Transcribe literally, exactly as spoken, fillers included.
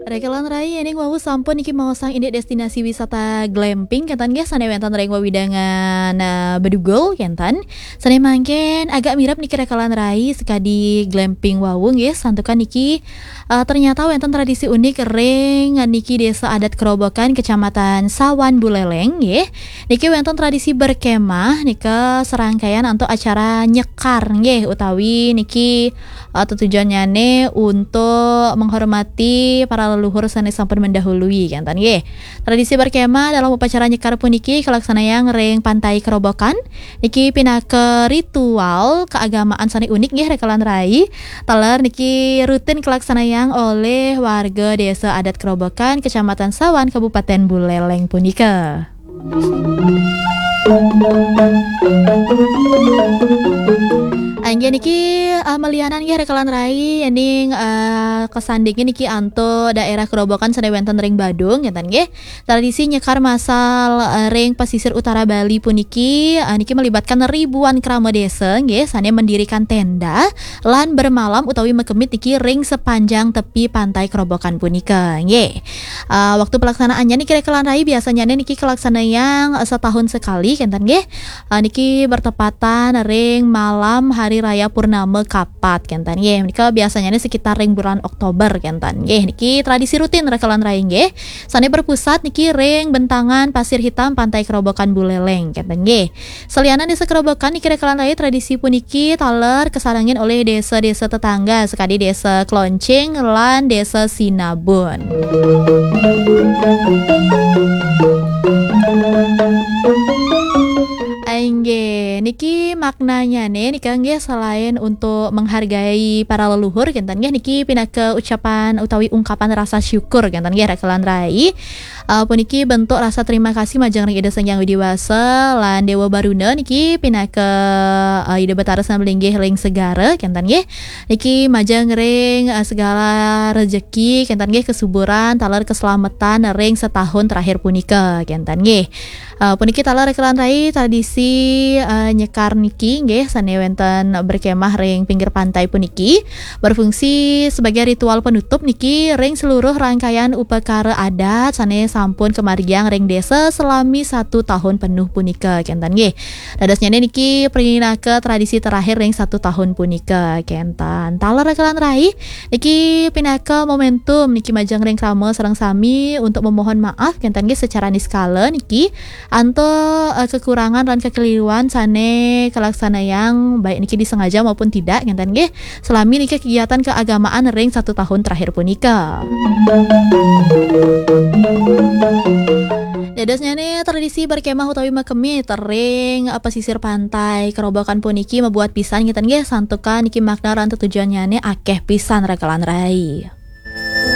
Rekelan rai, ening wau sampun niki maosang indik destinasi wisata glamping, kenten nggih, sane wenten ring wewidangan, eh, Bedugul, kenten. Sane mangkin agak mirip niki rekelan rai sekadi glamping wau nggih, santukan niki, eh, ternyata wenten tradisi unik ring niki Desa Adat Kerobokan, Kecamatan Sawan Buleleng nggih. Niki wenten tradisi berkemah nika serangkaian antuk acara nyekar nggih, utawi niki, eh, tetujonnyane untuk menghormati para leluhur sane sampun mendahului, kenten nggih. Tradisi berkemah dalam upacara nyekar puniki kalaksanayang ring Pantai Kerobokan. Niki pinaka ritual keagamaan sane unik nggih, rekelan rai. Taler niki rutin kalaksanayang oleh warga Desa Adat Kerobokan, Kecamatan Sawan, Kabupaten Buleleng punika. Inggih niki, eh, malianan nggih, rekelan rai, ening, eh, kesandingin niki antuk daerah Kerobokan sane wenten ring Badung, kenten nggih. Tradisi nyekar masal, eh, ring pesisir utara Bali puniki, eh, niki melibatkan ribuan krama desa nggih, sane mendirikan tenda lan bermalam utawi makemit niki ring sepanjang tepi Pantai Kerobokan punika nggih. Eh, waktu pelaksanaannya niki, rekelan rai, biasanya niki kalaksanayang, eh, setahun sekali, kenten nggih. Eh, niki bertepatan ring malam Hari Raya Purnama Kapat, kenten nggih. Nika biasanya sekitar ring bulan Oktober, kenten nggih. Niki tradisi rutin, rekelan rai, nggih. Sane berpusat niki ring bentangan Pasir Hitam, Pantai Kerobokan Buleleng, kenten nggih. Salianan Desa Kerobokan niki, rekelan rai, tradisi puniki taler kasarengin oleh desa-desa tetangga, sekadi Desa Kloncing lan Desa Sinabun. Inggih, niki maknanyane nika nggih, selain untuk menghargai para leluhur, kenten nggih, niki pinaka ucapan utawi ungkapan rasa syukur, kenten nggih, rekelan rai. Eh, puniki bentuk rasa terima kasih majeng ring Ida Sang Hyang Widi Wasa lan Dewa Baruna niki pinaka, eh, Ida Batara Sinabalinggih ring segara, kenten nggih. Niki majeng ring, eh, segala rejeki, kenten nggih, kesuburan taler keselamatan ring setahun terakhir punika, kenten nggih. Eh, puniki taler, rekelan rai, tradisi, eh, nyekar niki nggih, sane wenten berkemah ring pinggir pantai puniki berfungsi sebagai ritual penutup niki ring seluruh rangkaian upakara adat sane sampun kamargiang ring desa selami satu tahun penuh punika, kenten nggih. Dadosnyane niki pinaka tradisi terakhir ring satu tahun punika, kenten. Taler, rekelan rai, niki pinaka momentum niki majeng ring krama sareng sami untuk memohon maaf, kenten nggih, secara niskala niki antuk, eh, kekurangan lan kekeliruan sane kalaksanayang, baik niki disengaja maupun tidak, kenten nggih, selami niki kegiatan keagamaan ring satu tahun terakhir punika. Dadosnyane tradisi berkemah utawi makemit ring, eh, pesisir pantai Kerobokan puniki mabuat pisan, kenten nggih, santukan niki makna lan tetujonnyane akeh pisan, rekelan rai.